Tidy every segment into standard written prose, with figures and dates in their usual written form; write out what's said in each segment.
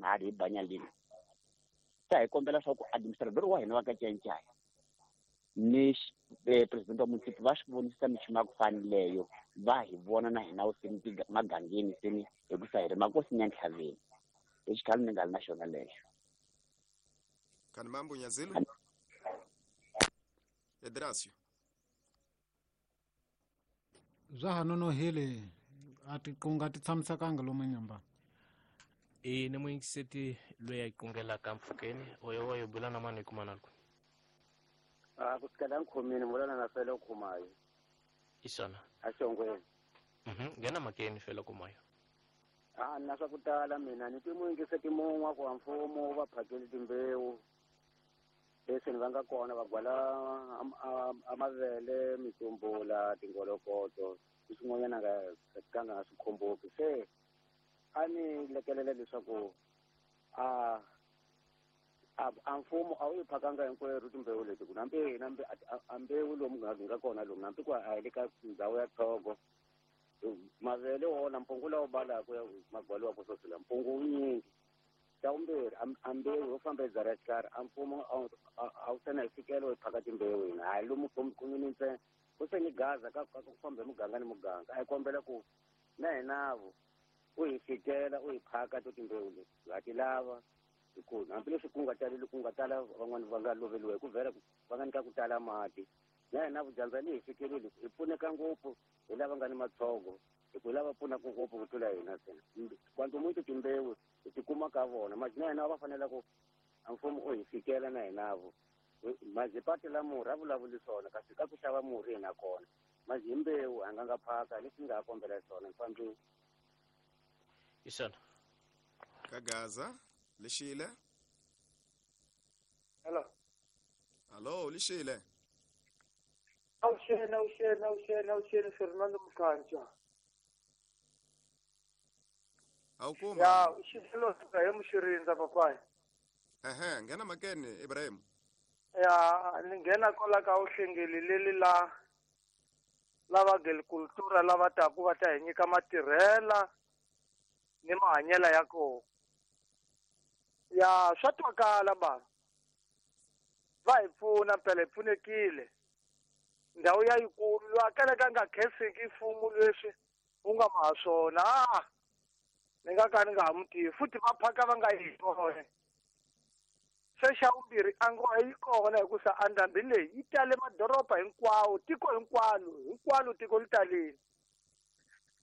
Mali hi banyalini. Se a hi kombela swa ku administrator wa hina wa ka Nciyanciya ni president wa municipal va swi vonisisa minchumu ya ku fanileyo va hi vona na hina seni magangeni seni hikusa hi ri makosini ya ntlhaveni. I xikhalo ni nga ri na xona lexo. Kani mambo Nyazilo? Edrasio. Bya ha nonohile a tiqunga ti tshamisekanga lomu nyamba. E ni muyingiseti loyi a yi qungelaka mpfhukeni oyo wa yo bula na mani hi kuma na loko. A ku sikela nkhomini vulana na fele khumayo. Isona. A xongweni. Nghena makeni fele khumayo. A na swa ku tala mina ni ti muyingiseti mun'we ku wa mfumo va phakeli timbewu. Leswi ni va nga kona va gwala a mavele, mitsumbula, tingolokoto, ni swin'wanyana nga ka nga swi khomboki. Se a ni lekelela leswaku a mfumo a wu yi phakanga hinkwerhu timbewu leti ku nambe nambe a mbewu lomu nga kona lomu nambi ku a hi le ka ndhawu ya Togo. Mavele wona mpungu lawu balaka ya magwaliwa ku sosela mpungu wu nyingi. Xa vumbirhi a mbewu yo famba ebyara xikarhi a mfumo a wu sena hi fikelo hi phaka timbewu hina hayi lomu kumini ntsena ku se ni gaza ka ku famba hi muganga ni muganga a hi kombela ku na hinavo u hi fikela u hi phaka to timbewu leti ha ti lava hikuva hambileswi ku nga taleli ku nga tala van'wani va nga loveliwa hi ku vhela va nga nyika ku tala mati na hina vudyandza ni hi fikeleli hi pfuneka ngopfu hi lava nga ni matshogo hi ku lava pfunaka ngopfu ku tlula hina ntsena kwantomuntu timbewu hi ti kuma ka vona mati na hina va fanele ku a mfumo u hi fikela na hinavo mazipati la murhi a vulavuli swona kasi ka ku xava murhi hina kona mazi hi mbewu a nga nga phaka leswi nga ha kombela swona mfambi. Isona. Ka Gaza lixile. Hello. Hello lixile. Awuxeni Fernando Mkhancha. Awukuma. Ya, xilo hi muxirindza papai. Ehe, nghena makeni Ibrahim. Ya, ni nghena kola ka uhlengeli leli la lava agricultura lava taku va ta hi nyika matirhela ni mahanyela ya kona. Ya, swa twakala ba. Va hi pfuna phela hi pfunekile. Ndhawu ya yikulu loyi a kalaka nga khenseki mfumo leswi wu nga ma swona. Ni nga ka ni nga ha mu tivi futhi va phaka va nga yi kona. Se xa vumbirhi a ngo yi kona hikusa a ndhambi leyi yi tale madoroba hinkwawo tiko hinkwalo hinkwalo tiko li talile.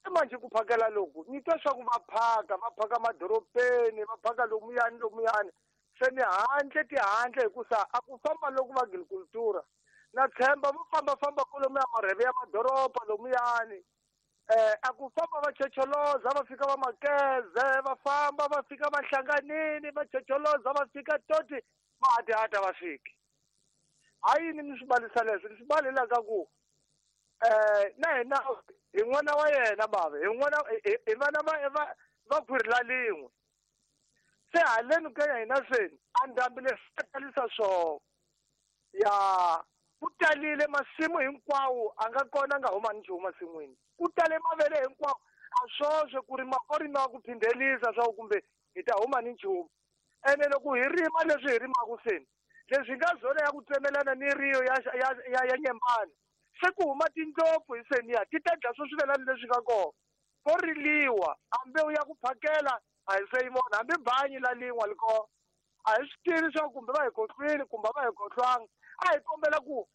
Se manje ku phakela loku ni twa swa ku va phaka madorobeni va phaka lomuyani lomuyani se ni handle tihandle hikusa a ku famba loku va agricultura na tshemba vo fambafamba kolomuya marheve ya madoroba lomuyani. A ku famba va chocholoza va fika va makeze va famba va fika va hlanganini va chocholoza va fika toti mahadihata va fiki. Ha yini ni swi balisa leswi ni swi balelaka ku na hina hi n'wana wa yena bava hi n'wana hi vana va khwiri la lin'we. Se haleni ka ya hina seni a ndhambi leswi talisa swona. Ya ku talile masimu hinkwawo a nga kona nga huma ni nchumu masin'wini. Ku tale mavele hinkwawo a swoswe ku rima ko rima ku phindhelisa swa kumbe hi ta huma ni nchumu. Ene loko hi rima leswi hi rimaka seni leswi nga zona ya ku tsemelana ni riyo ya nyembani se ku huma tindlopfu hi seniya ti ta dya swo swivelani leswi nga kona. Ko riliwa a mbewu ya ku phakela a hi se yi vona hambi banyi la lin'wa li kona. A hi swi tivi swa kumbe va hi khohlwile kumbe va hi khohlwanga. A hi kombela ku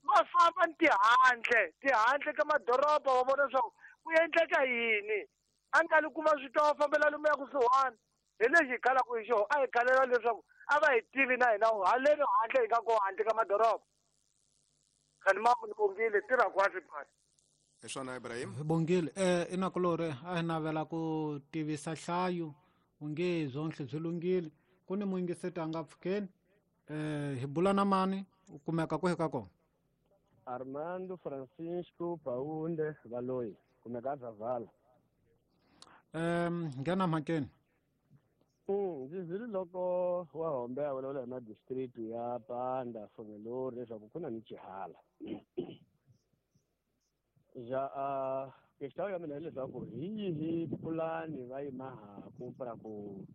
va famba ni tihandle ka madoroba va vona swa ku endleka yini. A nga li ku va swi twa va fambela lomuya kusuhani hi lexi hi khalaka hi xona a hi khalela leswaku a va hi tivi na hina haleni handle hi nga kona handle ka madoroba. Khani mambo ni bongile tirha kwasi phasi. Hi swona Ibrahim. Hi bongile inakulore a hi navela ku tivisa hlayo unge zonhle byi lunghile ku ni muyingiseti a nga pfukeni hi bula na mani u kumeka ku hika kona. Armando Francisco Paunde Valoyi kumeka Zavala. Nghena mhakeni. Ndzi zwile loko wa Hombe a vulavula hi madistrict ya Panda Fongelori leswaku ku na ni Chihala. Ja questão ya mina hileswaku hi yihi pulani va yi mahaku para ku